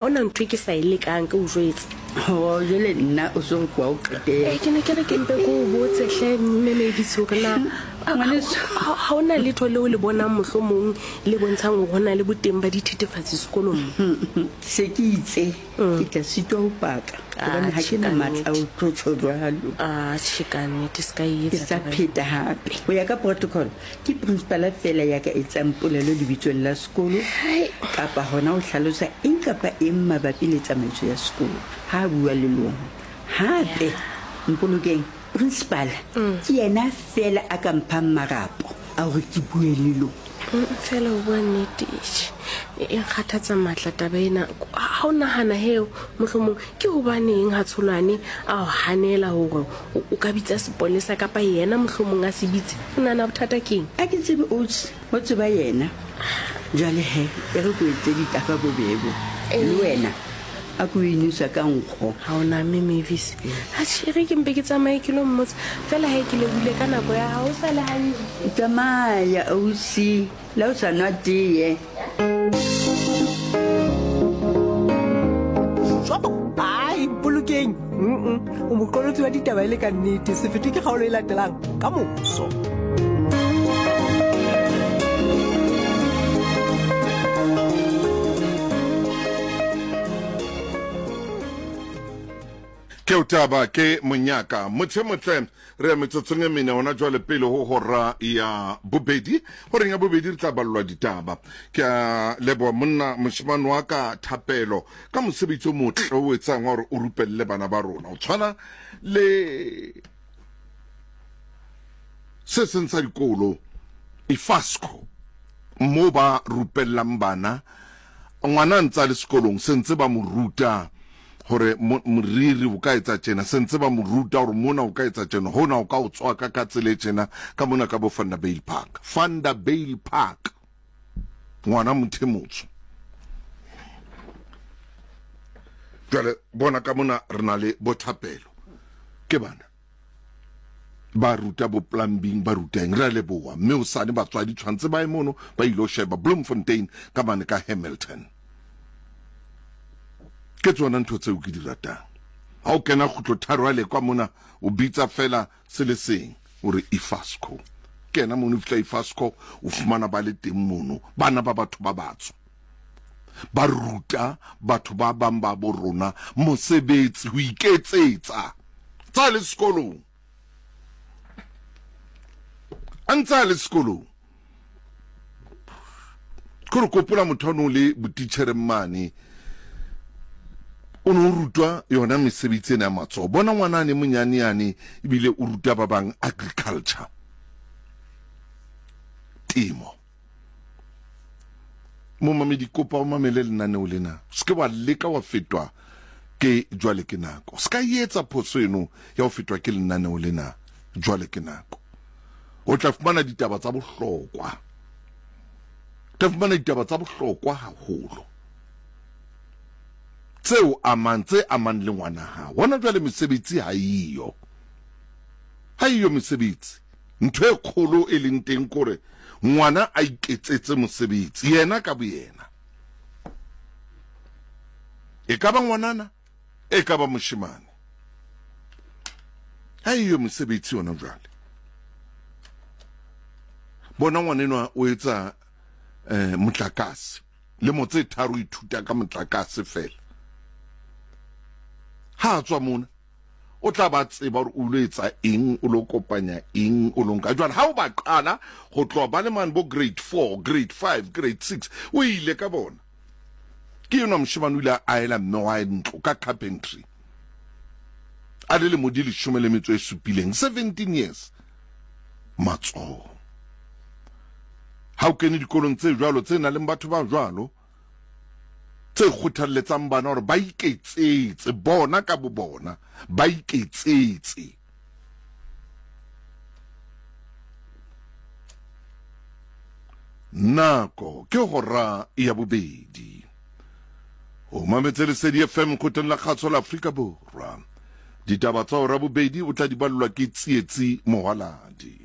Ha hona ntho e ke sa e lekang, ke o jwetse. Ho, jwale nna o so re ke wa o qetela. Eh, ke ne ke re ke mpe ke o botse hle, Mme Mavis, hore na Ngwaneso. ha ho na letho leo le bonang mohlomong le bontshang hore ho na le boteng ba dithethefatsi sekolong mo? Se ke itse ke tla sitwa ho paka hobane ha Atjhe, ke na ka matla a ho nnete. tlo tjho jwalo. Atjhe, ka nnete, se ka e Ke etsa sa taba eo. pheta hape. Ho ya ka protocol, Ke principala feela ya ka etsang polelo lebitsong la sekolo kapa hona ho hlalosa eng kapa eng mabapi le tsamaiso ya sekolo ha a bua le lona. Hape, Mpolokeng, principala ke yena feela a ka mphang marapo a hore ke bue le lona. Feela ho bua nnete, eish, e nkgathatsa matla taba ena. Ha o nahana he, mohlomong ke hobaneng ha Tsholwane a o hanela hore o ka bitsa sepolesa kapa yena mohlomong a se bitse? O nahana bothata keng? A ke tsebe Oats, ho tseba yena. Jwale he, e re ko etse ditaba bobebo. Le wena a ko inwesa ka nkgo. Ha o na mme Mavis. Atjhe, e re ke mpe ke tsamaye ke lo mmotsa. Feela he ke lebohile ka nako ya hao. O sale hantle. Tsamaya ausi, le ha o sa nwa teye. Ai, Mpolokeng, mm o moqolotsi wa ditaba e le ka nnete. Se fetwe ke kgaolo e latelang ka moso. Ke o taba ke monyaka mothe motle Re ya metsotsong e mene hona jwale pele ho hora ya bobedi. Horeng ya bobedi re tla ballwa ditaba. Ke a leboha monna moshemane wa ka Thapelo ka mosebetsi o motle o etsang wa hore o rupelle bana ba rona. O tshwana le se seng sa dikolo Ifasco mo ba rupellang bana ngwana a ntse a le sekolong se ntse ba mo ruta gore moriri o ka etsa tjena, se ntse ba mo ruta gore mona o ka etsa tjena, hona o ka o tswaka ka tsela e tjena, ka mona ka bo Vanderbijlpark. Vanderbijlpark. Ngwana motho e motsho. Jwale bona ka mona re na le bothapelo. Ke bana. Ba ruta bo plumbing, ba ruta eng. Re a leboha. Mme hosane batswadi tshwantse ba ye mono ba ilo sheba Bloemfontein ka mane ka Hamilton. Ke tsona ntho tseo ke di ratang. Ha o kena kgutlo tharo ya lekwa mona, o bitsa fela se le seng, o re Ifasco. Kena mono, o fihla Ifasco, o fumana ba le teng mono, bana ba batho ba batsho. Ba ruta batho ba bang ba bo rona mosebetsi, ho iketsetsa. Tsa le sekolong. A ntse a le sekolong. Ke re kopola motho a no le botitjhereng mane o ne o rutwa yona mesebetsi ena ya matsoho. Bona ngwana ane monyane yane ebile o ruta ba bang agriculture, temo. Momamedi, kopa o mamele lenaneo lena, o se ke wa leka wa fetwa ke jwale ke nako. Se ka etsa phoso eno ya ho fetwa ke lenaneo lena jwale ke nako. O tla fumana ditaba tsa bohlokwa, o tla fumana ditaba tsa bohlokwa haholo tseo amang tse amang le ngwana hao. Hona jwale mesebetsi ha eyo, ha eyo mesebetsi. Ntho e kgolo e leng teng kore ngwana a iketsetse mosebetsi yena ka boyena. E ka ba ngwanana, e ka ba moshemane. Ha eyo mesebetsi yona jwale. Bona ngwanenwa o etsa eh, motlakase. Lemo tse tharo ithuta ka motlakase fela. Ha a tswa mona o tla ba tseba gore o lo etsa eng, o lo kopanya eng, o lo nka jwale. Ha o ba qala go tloha ba le mane bo grade 4, grade 5, grade 6, o ile ka bona. Ke enwa moshemane o ile a aela mme wa hae ntlo ka carpentry a le lemo di leshome le metso e supileng, 17 years. Matsoho. Ha o kene dikolong tse jwalo tse nang le batho ba jwalo, tse kgothalletsang bana hore ba iketsetse bona ka bo bona, ba iketsetse. Nako ke hora ya bobedi. O mametse Lesedi FM kgotleng la kgaso la Afrika Borwa. Ditaba tsa hora bobedi o tla di ballwa ke Tsietsi Mohwaladi.